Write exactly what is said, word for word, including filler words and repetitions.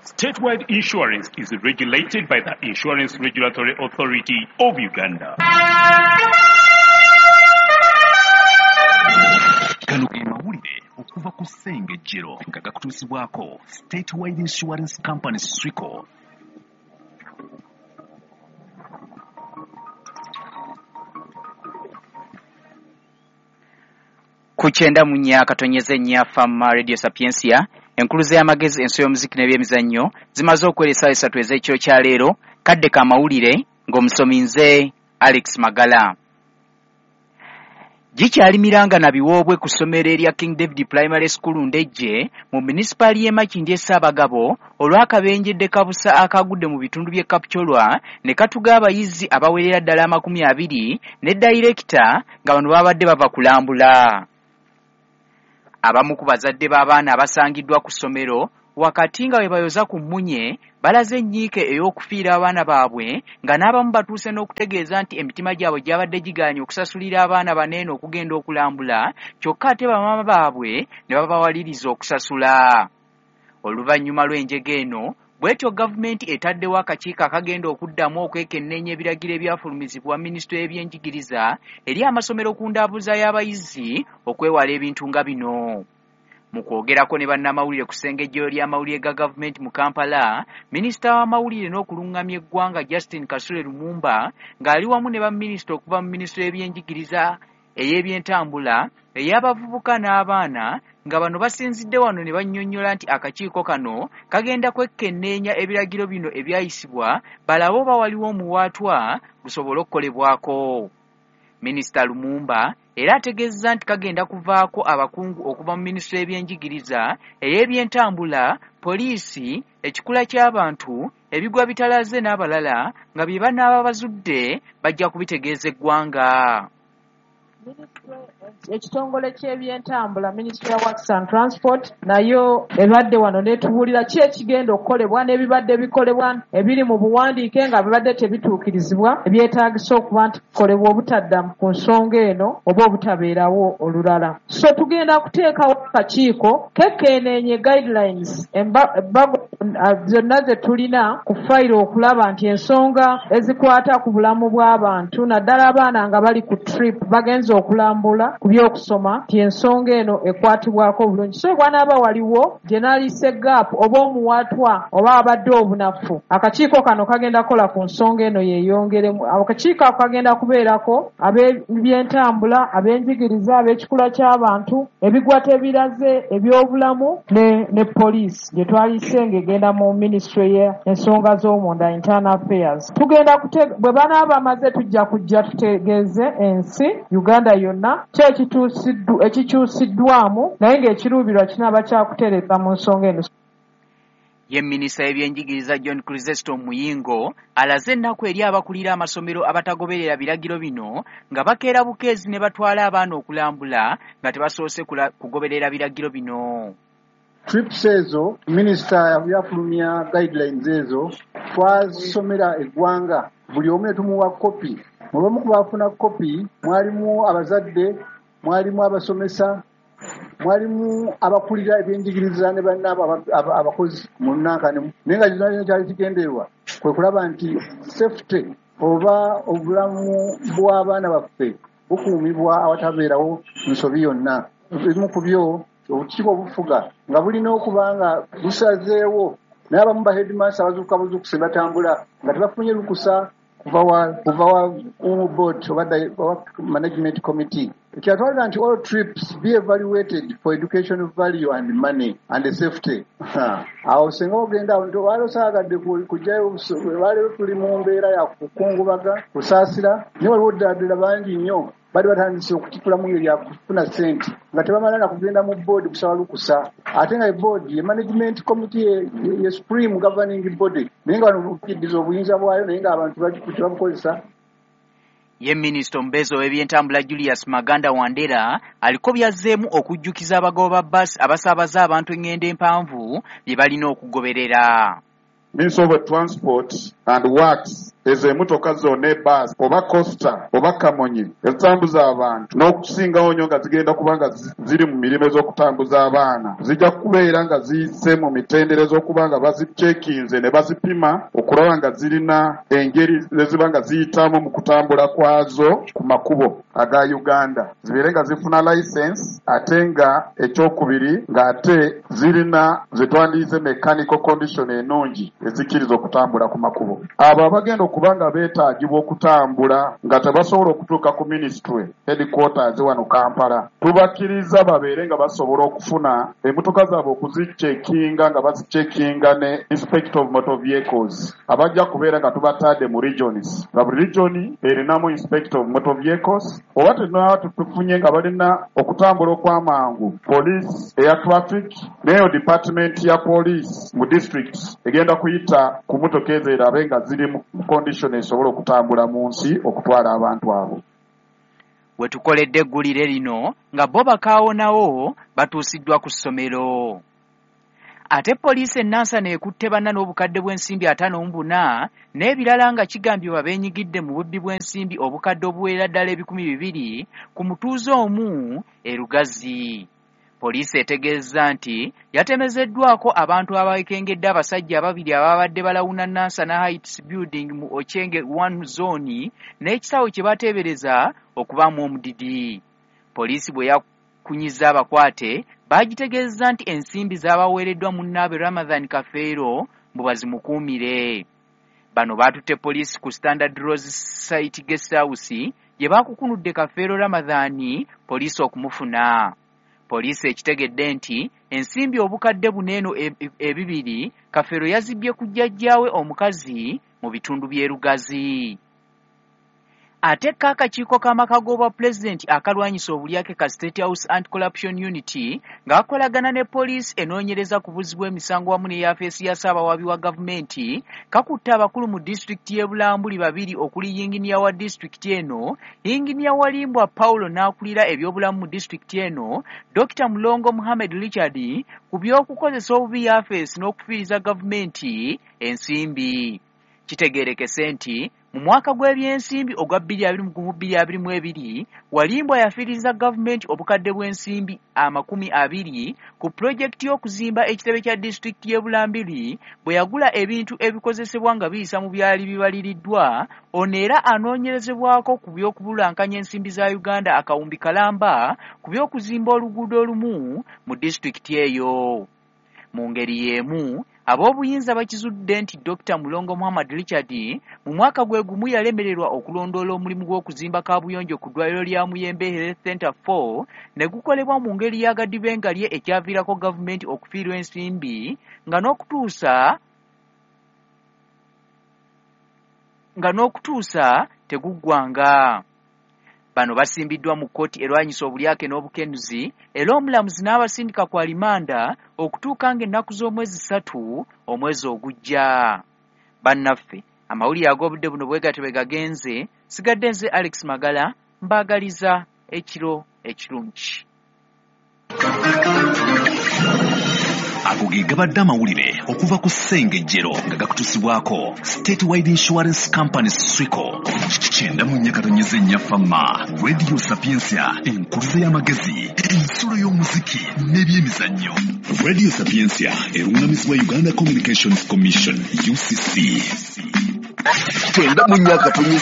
Statewide Insurance is regulated by the Insurance Regulatory Authority of Uganda. Gano ge mawulire okuva ku Ssengejjero nga gakutuusibwako Statewide Insurance Company Swico. Ku kyenda mu nnya akatonyeze nnya Fama Radio Sapientia, enkuluze y'amagezi, enso y'omuziki n'ebyemizannyo zimaze okwera essaawa esatu ez'ekiro kya leero. Kadde ka mawulire ng'omusomi nze Alex Magala. Gikyali miranga na biwoobwe ku ssomero erya King David Primary School Ndejje mu munisipaali y'e Makindye Ssaabagabo olw'akabenjedde kabusa akagudde mu bitundu by'e Kapchorwa ne katuga abayizi abawerera ddala amakumi abiri ne dayirekita nga bano babadde bava kulambula. Abamu ku bazadde b'abaana abasangiddwa ku ssomero wakati nga bwe bayoza ku mmunye balaze ennyiike ey'okufiira abaana baabwe nga n'abamu batuuse n'okutegeeza nti emitima gyabwe gyabadde gigaanye okusasulira abaana baneeno okugenda okulambula, kyokka ate bamaama baabwe ne babawaliriza okusasula. Oluvannyuma lw'enjega eno bw'etyo gavumenti etaddewo akakiiko akagenda okuddamu okwekenneenya ebiragiro ebyafulumizibwa minisitule y'ebyenjigiriza eri amasomero ku ndaabuza y'abayizi okwewala ebintu nga bino. Mu kwogerako ne bannamawulire ku ssengejjero ly'amawulire ga gavumenti mu Kampala, minisita w'amawulire n'okulungamya eggwanga Justin Kasule Lumumba ng'ali wamu ne baminisita okuva mu minisitule y'ebyenjigiriza, ey'ebyentambula, ey'abavubuka n'abaana nga bano basinzidde wano ne bannyonnyola nti akakiiko kano kagenda kwekenneenya ebiragiro bino ebyayisibwa balabe oba waliwo omuwaatwa gusobole okukolebwako. Minisita Lumumba era ategeezezza nti kagenda kuvaako abakungu okuva mu minisitule y'ebyenjigiriza, ey'ebyentambula, poliisi, ekikula ky'abantu, ebigwa bitalaze n'abalala nga bye banaaba bazudde bajja kubitegeeza eggwanga. Ekitongole ky'ebyentambula, Ministry of Works and Transport, nayo ebadde wano n'etubuulira ki ekigenda okukolebwa n'ebibadde bikolebwa ebiri mu buwandiike nga bibadde tebituukirizibwa ebyetaagisa okuba nti bikolebwa obutadda ku nsonga eno oba obutabeerawo olulala. So tugenda kuteekawo akakiiko kekeeneenye guidelines embago zonna ze tulina ku fayiro okulaba nti ensonga ezikwata ku bulamu bw'abantu naddala abaana nga bali ku trip bagenze okulambula ku by'okusoma nti ensonga eno ekwatibwako obulungi. So bw'anaaba waliwo gye naliise gap oba omuwaatwa oba abadde obunafu, akakiiko kano kagenda kukola ku nsonga eno yeeyongeremu. Akakiiko ako kagenda kubeerako ab'ebyentambula, ab'enjigiriza, ab'ekikula ky'abantu, ebigwa tebiraze, ebyobulamu ne, ne poliisi gye twaliise ng'egenda mu minisitule y'ensonga z'omunda, internal affairs. Tugenda bwe banaaba bamaze tujja kujja tutegeeze ensi Uganda yonna ki ekikyusiddwamu naye ng'ekiruubirwa kinaaba kyakutereeza mu nsonga eno. Ye minisita y'ebyenjigiriza John Chrysostom Muyingo alaze ennaku eri abakulira amasomero abatagoberera biragiro bino nga bakeera bukeezi ne batwala abaana okulambula nga tebasoose kugoberera biragiro bino. Trips ezo minisita yafulumya guidelines ezo twasomera eggwanga buli omu ne tumuwa kopi. Mu bamu ku baafuna kopi mwalimu abazadde, mwalimu abasomesa, mwalimu abakulira ebyenjigiriza ne bannaabo abakozi mu nnankani. Naye nga kyonna kyali kigendererwa kwe kulaba nti safety oba obulamu bw'abaana baffe bukuumibwa awatabeerawo nsobi yonna. Ebimu ku byo obukiiko obufuga nga bulina okuba nga busazeewo, naye abamu ba headmaster abazuukuka buzuukuse batambula nga tebafunye lukusa kuva wa kuva wa board oba management committee. Ekyatwalira nti all trips be evaluated for education value and money and safety. Awo singa ogenda waliwo saagadde kujjayo, waliwo tuli mu mbeera ya kukungubaga, kusaasira, naye waliwo ddala ddala bangi nnyo bali batandise okukikula mu ngeri ya kufuna ssente nga tebamala na kugenda mu board kusaba lukusa, ate nga board ye management committee ye supreme governing body, naye nga bano bukiddiza obuyinza bwayo naye ng'abantu tebabukozesa. Ye minisita omubeezi ow'ebyentambula Julius Maganda Wandera aliko byazzeemu okujjukiza abagoba ba bbaasi abasaabaza abantu engendo empanvu bye balina okugoberera. Minister of Transport and Works Ezo emmotoka zonna, ebbaasi oba coaster oba kamonye ezitambuza abantu, n'okusingawo nnyo nga zigenda kuba nga ziri mu mirimu ez'okutambuza abaana, zijja kubeera nga ziyise mu mitendera ez'okuba nga bazicekinze ne bazipima okulaba nga zirina engeri eziba nga ziyitamu mu kutambula kwazo ku makubo aga Uganda, zibeere nga zifuna license, ate nga ekyokubiri ng'ate zirina zetwandiyize mechanical condition ennungi ezikkiriza okutambula ku makubo. Abo abagenda okuba nga beetaagibwa okutambula nga tebasobola okutuuka ku ministry headquarters wano Kampala, tubakkiriza babeere nga basobola okufuna emmotoka zaabwe okuzicekinga nga bazicekinga ne inspector of motor vehicles abajja kubeera nga tubatadde mu regions, nga buli region erinamu inspector of motor vehicles. Oba tenaba tufunye nga balina okutambula okw'amangu, police eya traffic n'eyo department ya police mu district egenda kuyita ku mmotoka ezo erabe nga ziri mu condition esobola okutambula mu nsi okutwala abantu abo. We tukoledde eggulire lino nga bo bakaawonawo batuusiddwa ku ssomero. Ate poliisi e Nansana ekutte banna n'obukadde bw'ensimbi ataano mu buna n'ebirala nga kigambibwa beenyigidde mu bubbi bw'ensimbi obukadde obuwerera ddala ebikumi bibiri ku mutuuze omu e Lugazi. Poliisi etegeezza nti yatemezeddwako abantu abakengedde abasajja ababiri ababadde balawuna Nansana Heights Building mu Ochenge one Zone n'ekisawo kye bateebereza okubaamu omudidi. Poliisi bwe yakunyiza abakwate baagitegeezza nti ensimbi zaabaweereddwa munnaabwe Ramadhan Kafeero mbu bazimukuumire. Bano baatutte poliisi ku Standard Rose Site Guest House gye baakukunudde Kafeero Ramadhan poliisi okumufuna. Poliisi ekitegedde nti ensimbi obukadde buno eno ebibiri Kafeero yazibbye ku jjajjaawe omukazi mu bitundu by'e Lugazi. Ate ko akakiiko k'amaka g'obwapulezidenti akalwanyisa obulyake ka State House Anti-Corruption Unit ng'akolagana ne poliisi enoonyereza ku buzzi bw'emisango wamu ne yafeesi ya ssaabawaabi wa gavumenti kakutte abakulu mu disitulikiti y'e Bulambuli babiri okuli yinginiya wa disitulikiti eno, yinginiya Walimbwa Paulo n'akulira ebyobulamu mu disitulikiti eno, Dokita Mulongo Muhammed Richard ku by'okukozesa obubi yafeesi n'okufiiriza gavumenti ensimbi. Kitegeerekese nti mu mwaka gw'ebyensimbi ogwa bbiri abiri mu gumu bbiri abiri mu ebiri Walimbwa yafiiriza gavumenti obukadde bw'ensimbi amakumi abiri ku pulojekiti y'okuzimba ekitebe kya disitulikiti y'e Bulambuli bwe yagula ebintu ebikozesebwa nga biyisa mu byali bibaliriddwa. Ono era anoonyerezebwako ku by'okubulankanya ensimbi za Uganda akawumbi kalamba ku by'okuzimba oluguudo olumu mu disitulikiti eyo. Mu ngeri y'emu ab'obuyinza bakizudde nti Dokita Mulongo Muhammad Richard mu mwaka gwe gumu yalemererwa okulondoola omulimu gw'okuzimba kaabuyonjo ku ddwaliro lya Muyembe Health Center four ne gukolebwa mu ngeri y'agadibengalye ekyaviirako gavumenti okufiirwa ensimbi nga n'okutuusa nga n'okutuusa teguggwanga. Bano basimbiddwa mu kkooti erwanyisa obulyake n'obukenuzi era omulamuzi n'abasindika ku alimanda okutuuka ng'ennaku z'omwezi ssatu omwezi ogujja. Bannaffe, amawulire ag'obudde buno bwe gatyo bwe gagenze. Sigadde nze Alex Magala, mbaagaliza ekiro ekirungi. Ago ge gabadde amawulire okuva ku Ssengejjero nga gakutuusibwako Statewide Insurance Company Swico. Kyenda mu nnya katonyeze nnya Fama, Radio Sapientia, enkuluze y'amagezi, ensulo y'omuziki n'ebyemizannyo. Radio Sapientia erungamizibwa Uganda Communications Commission U C C. Kyenda mu nnya katonyeze